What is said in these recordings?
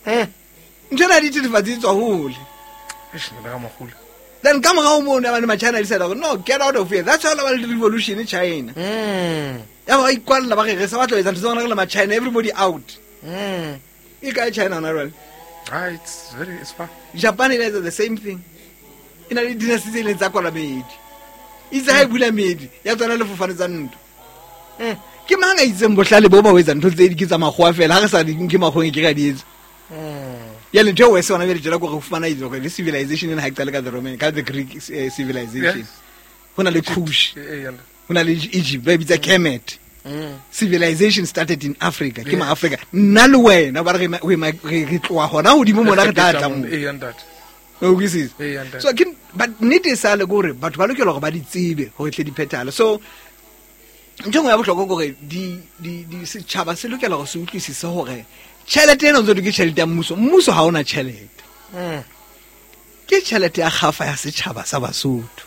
Ntho ena ya dithethefatsi e tswa hole. Eish, nna ka mogolo. Then ka morago moo ne ba le ma-China decide gore no, get out of here. That's how ba le revolution China. Ya ba ikwalela ba re re sa batla ho etsa ntho tsa rona re le ma-China, everybody out. E kae China hona jwale? Ah, it's very, it's far. Japan e etsa the same thing. E na le dynasty tse ileng tsa kwala meedi. Itse ha e bula meedi, ya tswana le fofane tsa ntwa. Ke mang a itseng bohlale bo ba ho etsa ntho tse di ke tsa makgowa fela, ha re sa di nke makgoweng ke ra di etsa. Jwale ntho e worse hona jwale tjena ke hore ho fumana itse hore le civilization ena ha e qale ka the Roman, ka the Greek civilization. Yes. Ho na le Kush, Eh, eh, ho na le Egypt, ba e bitsa Kemet. Civilization started in Africa. Ke Yes. ma-Africa. Nna le wena ba re re tloha hona hodimo mona re tla tla moo. Eh, ntate. O utlwisisa? Eh, ntate. So ke, but nnete e sale ke hore batho ba lokela hore ba di tsebe hore tle di phethahale. So ntho e nngwe ya bohlokwa ke hore setjhaba se lokela hore se utlwisise hore tjhelete ena o ntse o ke tjhelete ya mmuso. Mmuso ha ona tjhelete. Ke tjhelete ya kgafa ya setjhaba sa Basotho.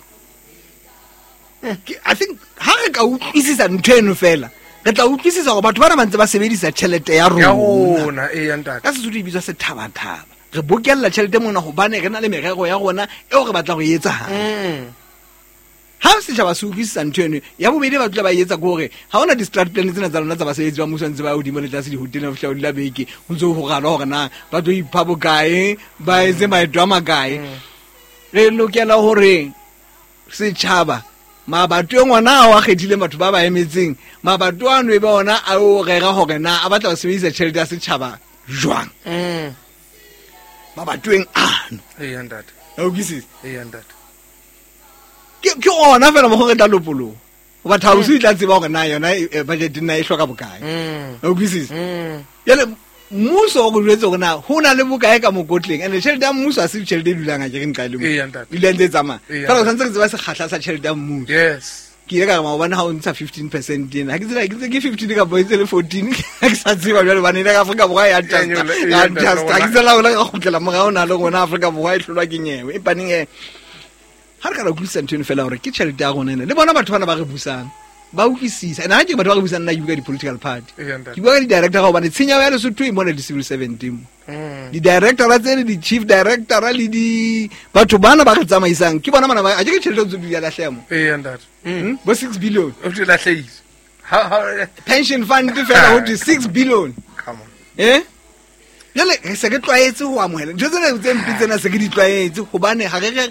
I think ha re ka utlwisisa ntho eno fela, re tla utlwisisa hore batho bana ba ntse ba sebedisa tjhelete ya Ya rona. rona, eh, ntate. Ka Sesotho e bitswa sethabathaba. Re bokella tjhelete mona hobane re na le merero ya rona eo re batlang ho e etsa hantle. Ha setjhaba se utlwisisa ntho eno, ya bobedi ba tla ba etsa ke hore ha hona di-strat plan tsena tsa lona tsa basebetsi ba mmuso ntse ba hodimo le tlase dihoteleng ho fihla ho dula beke, ho ntse ho ralwa hore na ba tlo ipha bokae, ba etse maeto a makae. Re lokela hore setjhaba mabatoweng ona ao a kgethileng batho ba ba emetseng, mabato ano e be ona a o rera hore na a batla ho sebedisa tjhelete ya setjhaba jwang. Mabatoweng ano. Eh, ntate. O utlwisisa? Eh, ntate. Ke ona fela mo go re tla lopoloha. Hoba Thausi e tla tseba hore na yona budget nna e hloka bokae. O utlwisisa? Jwale mmuso o re jwetse hore na ho na le bokae ka mokotleng, and tjhelete ya mmuso ha se tjhelete e dulang, ha ke re nqa e le mo. Ee, ntate. E dula ntse e tsamaya. Ee, Fela o ntate. tshwanetse re tseba sekgahla sa tjhelete ya mmuso. Yes. Ke ile ka re maobane ha o ntsha 15% ena. Ha ke tsela, ke ntse ke 15 kapa e ntse le 14. Ha ke sa tseba jwale hobane ena ka Afrika Borwa ya Ya adjusta. nyolla, Ya ya nyolla, adjusta. Ha ke tsela hore re kgutlela morao na le rona Afrika Borwa e hlolwa ke nyewe. Empa neng, ha re ka ra utlwisisa ntho eno fela hore ke tjhelete ya rona ena. Le bona batho bana ba re busang, ba utlwisisa. And ha ke batho ba re busang nna ke bua ka di-political party. Ee, ntate. Ke bua ka di-director hobane tshenyeho ya Lesotho e mona di-civil servant mo. Di-director tse le di-chief director le di batho bana ba re tsamaisang ke bona bana ba, a ke ke tjhelete tse di a lahleha mo. Ee, ntate. Bo 6 billion. O di lahlehile. Ha, ha, Pension fund fela ho thwe 6 billion. Come on. Jwale re se re tlwaetse ho amohela ntho tsena tse mpe tsena se re di tlwaetse hobane ha re re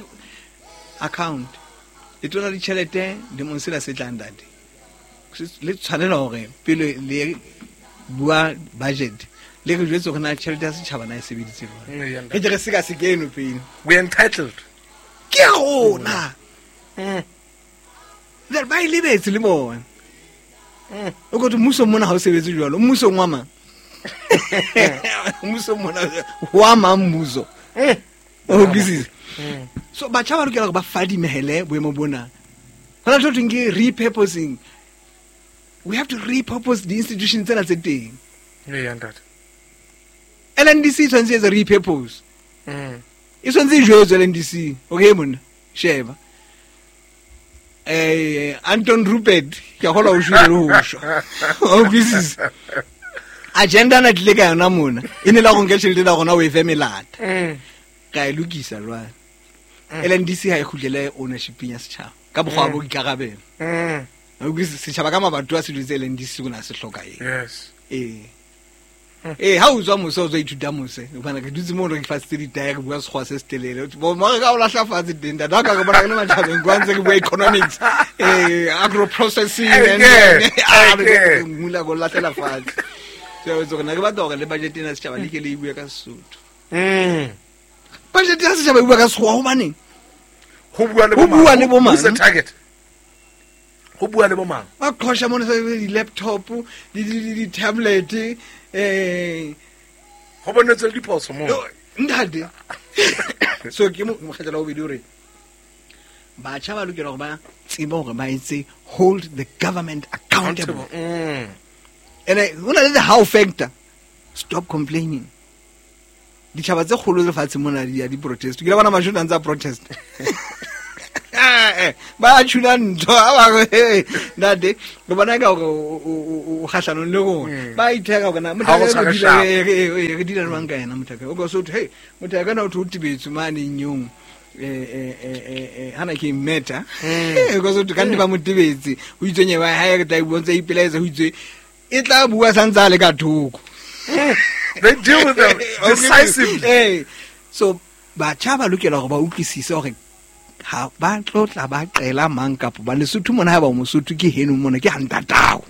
account. Letona ditjhelete lemong sena se tlang ntate. Le tshwanela hore pele le bua budget le re jwetse hore na tjhelete ya setjhaba na e sebeditse jwang. Ee, ntate. Re ke re seka seke eno pele. We are entitled. Ke ya rona. Jwale ba e lebetse le bona. O ko thwe mmuso mona ha o sebetse jwalo. Mmuso wa mang? Mmuso mona wa mang mmuso? O utlwisisa? So batjha ba lokela hore ba fadimehele boemo bona. Hona le ntho e thweng ke repurposing. We have to repurpose the institutions tsena tse teng. Ee, ntate. LNDC e tshwanetse e etse repurpose. E tshwanetse e jwetswe LNDC. Okay monna, sheba. Anton Rupert, ke a kgolwa o shwele le ho shwa. O utlwisisa? Agenda na tlile ka yona mona. E ne la go nke tjhelete la rona o e fe melata. Ka e lokisa jwale. LNDC ha e kgutlele ownership ya setjhaba ka mokgwa wa boikarabelo. O utlwisisa? Setjhaba ka mabato a se jwetse LNDC o na se hloka eng. Yes. Ha o tswa mose, o tswa ithuta mose. Hobane re dutse moo re fasitse ditaere, re bua sekgowa se setelele. Bo mo re ka o lahla fatshe teng, ntate. Ha ka re bona re le matjhabeng, kwa ntse re bua economics, agro processing, and re Eke. mula go lahlela fatshe. So, so rena re batla hore le budget ena ya setjhaba le ke le e bue ka Sesotho. Budget ya setjhaba e bua ka sekgowa hobaneng? Ho bua le Ho bo mang? bua le bo mang? Who's the target? Ho bua le bo mang? Ba qhosha mona sa di-laptop, di-tablet, Ho bonetswe le diphoso moo. Yo, ntate. So ke mokgetlo wa bobedi hore batjha ba lokela hore ba tsebe hore ba etse hold the government accountable. And ho na le the how factor. Stop complaining. Ditjhaba tse kgolo lefatsheng mona di ya di protest. Ke la bona mashome a ntse a protest. Ba tshuna ntho ha ba re ntate re bona ka hore o kgahlanong le rona. Ba itheka hore na Ha o tshware sharp. re dila jwang ka yena motho o ka so thwe hey motho a kana o thwe o tebetswe mane nyong hana ke meta ka so thwe ka nne ba mo tebetse ho itswe nyewe ha e re tla bua ntse ipelaetsa ho itswe e tla bua santse a le ka thoko. They deal with them decisively. So batjha ba lokela hore ba utlwisise hore ha ba tlo tla ba qela mang kapa ba Lesotho mona, ha ba o Mosotho ke heno mona ke hantatao.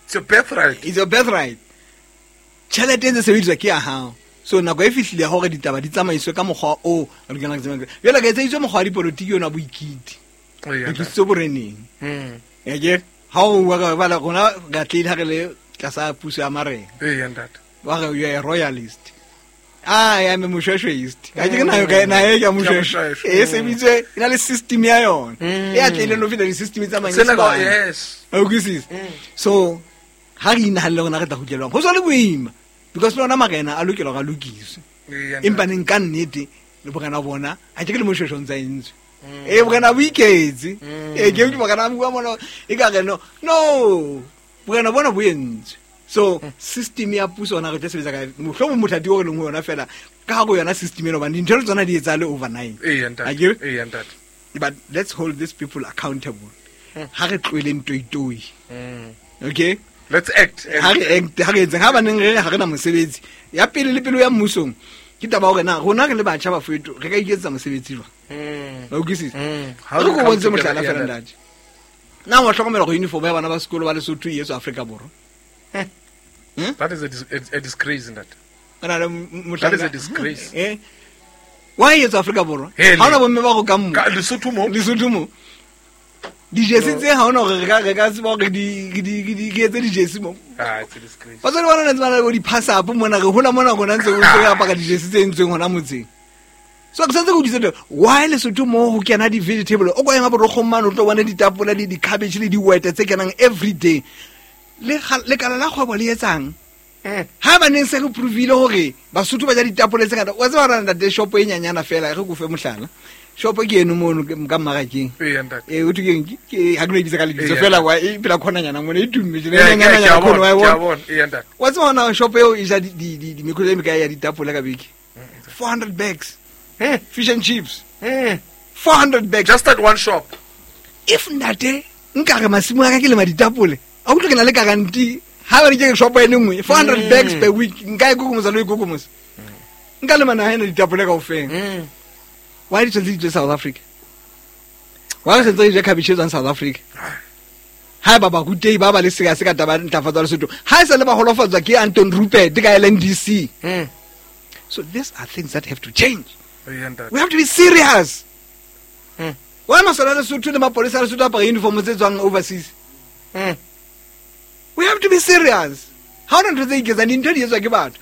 It's your birthright. It's your birthright. Tjhelete e ntse sebediswa ke ya hao. So nako e fihlile ya hore ditaba di tsamaiswe ka mokgwa o re lokelang re tsamaiswe. Jwale ka etseditswe mokgwa wa dipolotiki ona boikiti. Re tlositswe boreneng. Ya ke ha o bua ka bala rona re atlehile ha re le tlasa puso ya marena. Ee, ntate. Ba re you are a royalist. Ah, ya me moshweshweist. Ka ke na ka na e ka moshweshwe. moshweshwe. E sebitswe e na le system ya yona. E atlehile no feta di-system tsa Sena ka Manyesemane. yes. O utlwisisa? So ha re inahanne rona re tla kgutlelwang. Ho so le boima because le ona marena a lokela hore a lokiswe. Ee, Empa neng ka nnete le borena bona ha ke le moshweshwe o ntsa entswe. Borena bo iketse. Ke borena ba bua mona e ka re no. No. Borena bona bo entswe. So system ya puso yona re tla sebetsa ka mohlomong mothati o re leng ho yona fela ka hare ho yona system ena hobane dintho le tsona di etsahale overnight. Ee, ntate. Akere? Ee, ntate. But let's hold these people accountable. Ha re tlohele ntoitoi. Okay? Let's act. Ha re act, ha re etseng, ha baneng re re ha re na mosebetsi. Ya pele le pele ya mmusong ke taba hore na rona re le batjha ba Soweto re ka iketsetsa mosebetsi jwang? Wa utlwisisa? How Re do ko we come bontshe together? mohlala Yeah, fela ntate. ntate. Na wa hlokomela hore uniform ya bana ba sekolo ba Lesotho e etswa Afrika Borwa? That is a disgrace, ntate. Re na le That is mohlanka. a disgrace. Why e etswa Afrika Borwa? Hele. Ha hona bomme ba rokang mo. Ka Lesotho mo? Lesotho mo. Dijesi tse ha hona hore re ka tseba hore di etse dijesi mo. Ah, it's a disgrace. Batswadi ba rona ntse ba na le bo di-pass-up mona, re hola mona rona ntse re apara dijesi tse entsweng hona motseng. So ke santse ke utlwisisa taba, why Lesotho mo ho kena di-vegetable? O ko ema borokgong mane o tlo bona ditapole le di-cabbage le dihwete tse kenang every day. Le lekala la kgwebo le etsang? Ha ba neng se re provile hore Basotho ba ja ditapole tse ngata, wa tseba hore ntate shopo e nyanyana fela, re ko fe mohlala. Shopo ke eno mono ka mmarakeng. Ee, ntate. O thwe keng? Ke, ha ke no e bitsa ka lebitso Ee, fela, ntate. wa e pela khonanyana mona, e tumme tjena, Ee, e nyanyana ke a khona, wa e bona, ke a bona. bona. Ee, ntate. Wa tseba hona shopo eo e ja mekotla e mekae ya ditapole ka beke? 400 bags. Fish and chips. 400 bags. Just at one shop. If ntate nka re masimo a ka ke lema ditapole, a utlwe ke na le guarantee. Ha ba re ke shopo e le nngwe, 400 bags per week, nka e kokomosa le ho e kokomosa. Nka lema naha ena ditapole kaofela. Why di tshwanetse di tswe South Africa? Why re sentse re ja cabbage e tswang South Africa? Ha eba barutehi ba ba le seka se ka taba ya ntlafatso ya Lesotho, ha e sa le ba holofatswa ke Anton Rupert ka LNDC. So these are things that have to change. Ee, ntate. We have to be serious. Why masole a Lesotho le mapolesa a Lesotho a apara uniform tse tswang overseas? We have to be serious. Ha hona ntho tse iketsang, dintho di etswa ke batho.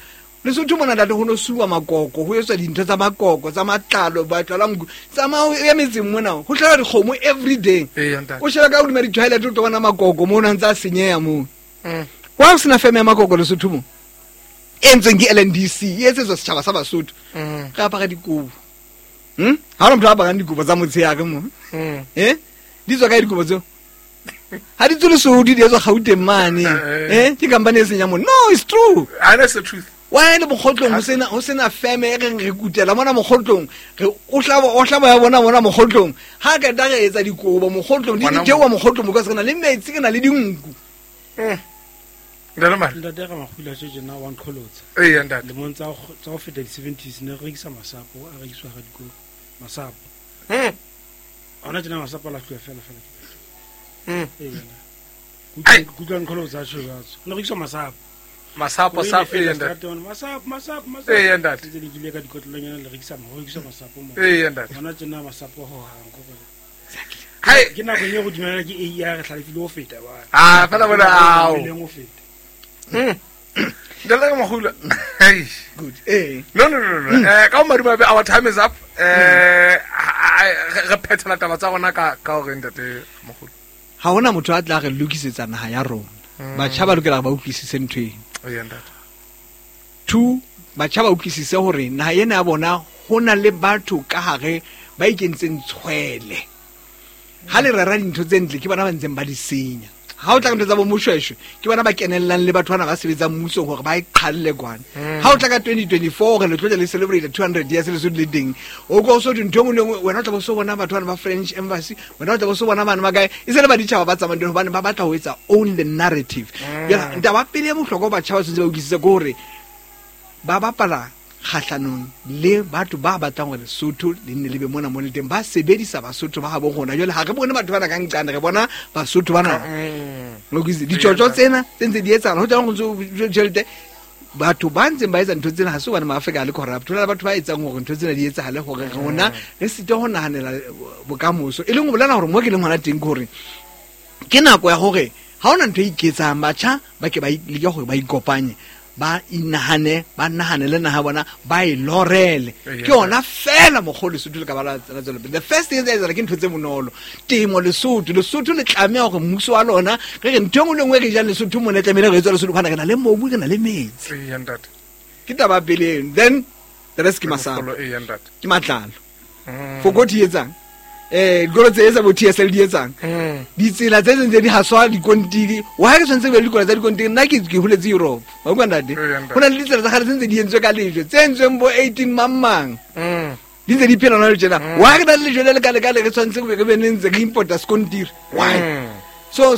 Lesotho mona ntate ho no suwa makoko, ho etswa dintho tsa makoko, tsa matlalo, matlalo a nku. Tsamaya o ye metseng mona, ho hlaba dikgomo every day. Ee, ntate. O sheba ka hodima di-toilet o tlo bona makoko moo a ntse a senyeha moo. Wa ho sena feme ya makoko Lesotho mo? E entsweng ke LNDC, e etsetswa setjhaba sa Basotho. Re apara dikobo. Ha hona motho a aparang dikobo tsa motshehare mo. Di tswa kae dikobo tseo? Ha di tswe Lesotho, di etswa Gauteng mane. Ke company e seng ya mo. No, it's true. I know it's the truth. Why le mokgotlong ho sena feme e reng re kutela mona mokgotlong, re o hlaba, o hlaba ya bona mona mokgotlong. Ha ka tla re etsa dikobo mokgotlong, di Ngwana di jewa mokgotlong because re na le metsi, re na le dinku. Ntate Mare. Ntate ka makgula tje tjena wa nqholotsa. Ee, ntate. Lemong tsa ho feta di-seventies ne re rekisa masapo, a rekiswa ga dikolo. Masapo. Hona tjena masapo a lahluwa fela fela. Ee, yena. Ai. Kutlwa nqholotsa tjho jwalo. Ne rekiswa masapo. Masapo, sapo, ee, ntate. Masapo, masapo, masapo. Ee, ntate. Ntse le kile ka dikotlolonyana le rekisa ho rekiswa masapo mo. Ee, ntate. Hona tjena masapo ho hang ko gore. Hai. Ke nako e go dumela ke AI re hlalefile ho feta ba. Ah, fela bona ao. Leng ho feta. Ntate ka makgula. Hei. Good. No, no, no, no. Ka ho madimabe, our time is up. Re phethela taba tsa rona ka hore ntate Makgula. Ha hona motho a tla re lokisetsa naha ya rona. Batjha ba lokela ba utlwisise ntho ena. Ee, ntate. 2, batjha ba utlwisise hore naha ena ya bona ho na le batho ka hare ba ikentseng tshwele. Ha le rera dintho tse ntle ke bona ba ntseng ba di senya. Ha o tla ka ntho tsa bo Moshweshwe ke bona ba kenellang le batho bana ba sebetsang mmusong hore ba e qhalle kwana. Ha o tla ka 2024 hore le tlo tla le celebrate 200 years Lesotho le teng, o ko so ntho e nngwe le nngwe, wena o tla bo so bona batho bana ba French embassy, wena o tla bo so bona bana ba kae, e se le baditjhaba ba tsamayang teng hobane ba batla ho etsa own the narrative. Jwale taba pele ya bohlokwa batjha ba tshwanetse ba utlwisise ke hore ba bapala kgahlanong le batho ba batlang hore Lesotho le nne le be mona mo le teng, ba sebedisa Basotho ba habo rona. Jwale ha re bone batho bana ka nqane, re bona Basotho bana. Lokise ditjotjo tsena tse ntse di etsahala, ho tlang ho ntso tjhelete. Batho ba ntseng ba etsa ntho tsena ha se hobane Maafrika a le corrupt, ho na le batho ba etsang hore ntho tsena di etsahale hore rona re site ho nahanela bokamoso. E leng ho bolela hore mo ke leng hona teng ke hore ke nako ya hore ha hona ntho e iketsang, batjha ba ke ba leke hore ba ikopanye, ba inahane, ba nahanele naha bona, ba e lorele. Ke yona fela mokgwa o Lesotho le ka ba la tswela pele. The first thing e etsahala ke ntho tse bonolo. Temo Lesotho, Lesotho le tlameha hore mmuso wa lona, re re ntho e nngwe le nngwe e re jang Lesotho mona e tlamehile re etswe Lesotho, hobane re na le mobu, re na le metsi. Ke taba ya pele eno. Then the rest ke masapo. Ke matlalo. Fokothi e etsang? Dikolo tse etsa bo TSL di etsang? Ditsela tse tse di haswa dikontiri. Why re tshwanetse be le dikolo tsa dikontiri? Nna ke holetse Europe. Wa utlwa ntate? Ho na le ditsela tsa kgale tse ntse di entswe ka lejwe, tse entsweng bo 18 mang mang. Di ntse di phela hona le tjena. Why re na le lejwe le le kale kale re tshwanetse re be ne ntse re importa skontiri? Why? So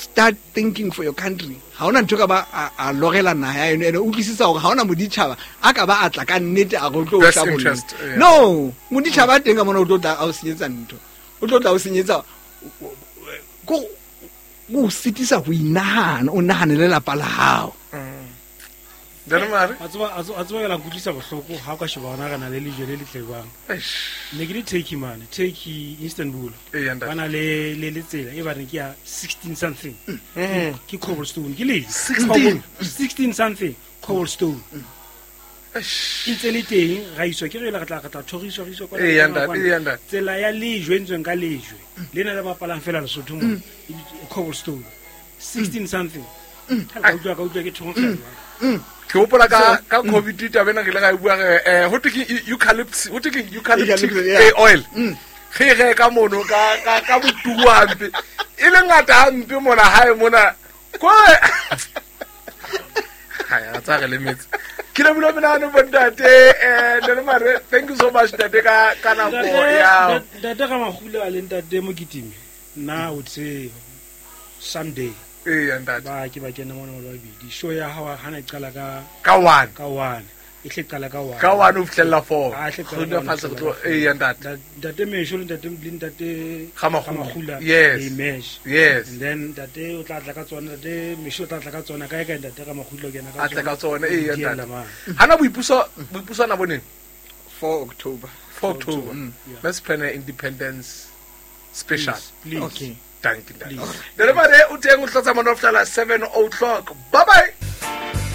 start thinking for your country. Ha hona ntho ka ba a lorela naha ya eno, ene utlwisisa hore ha hona moditjhaba a ka ba a tla ka nnete a re o tlo Best hlabolla. interest, yeah. No, moditjhaba a teng ka mona o tlo tla a o senyetsa ntho. O tlo tla o senyetsa, ko o sitisa ho inahana, o nahane le lelapa la hao. Ntate Mare? A tseba ke la nkutlwisa bohloko ha o ka sheba hona re na le lejwe le letle jwang. Eish. Ne ke le Turkey mane, Turkey, Istanbul. Eya, ntate. Ba na le tsela e ba reng ke ya 16 something. Ke cobblestone, ke lejwe. 16? 16 something, cobblestone. Eish. E ntse le teng, ra iswa, ke re re tla, re tla thoriswa, re iswa kwana, Eya, kwana, ntate, kwana. eya, ntate. Tsela ya lejwe e entsweng ka lejwe. Lena le bapalang fela Lesotho mona. E bitswa cobblestone. 16 something. Ka utlwa, ka utlwa ke thonkgela. Ke hopola ka COVID taba ena re ile ra e bua re, ho thwe ke eucalyptus, ho thwe ke eucalyptus Eucalyptus, yeah. oil. Re reka mono ka botuwa hampe. E le ngata hampe mona hae mona. Ko Ha ya tsa re lemetse. Ke lebohile menahano bo ntate, Ntate Mare, thank you so much ntate ka nako ya. Ntate Ramahula le ntate Mokitimi, nna o tse someday. Eya, ntate. Ba ke ba kena mona ba babedi. Show ya hao ha na e qala ka Ka 1. Ka 1. E hle qala ka 1. Ka 1 ho fihlela 4. Ha, e hle qala Re ka dula one, fatshe re ho tlo, fihlela four. eya, ntate. Ntate Mesho le ntate, le ntate Ramahula. Ramahula, Yes. they merge. Yes. And then ntate o tla tla ka tsona, ntate Mesho o tla tla ka tsona, kae kae ntate Ramahula o kena ka A tle ka tsona. tsona, eya, Di ntate. ella mane. Hana boipuso na boneng? 4 October. 4 October. Yeah. Let's plan an independence special. Please, please. Okay. Thank you, Ntate. Please. Ntate Mare, o teng o hlotsa mona ho fihlela 7 o'clock. Bye bye.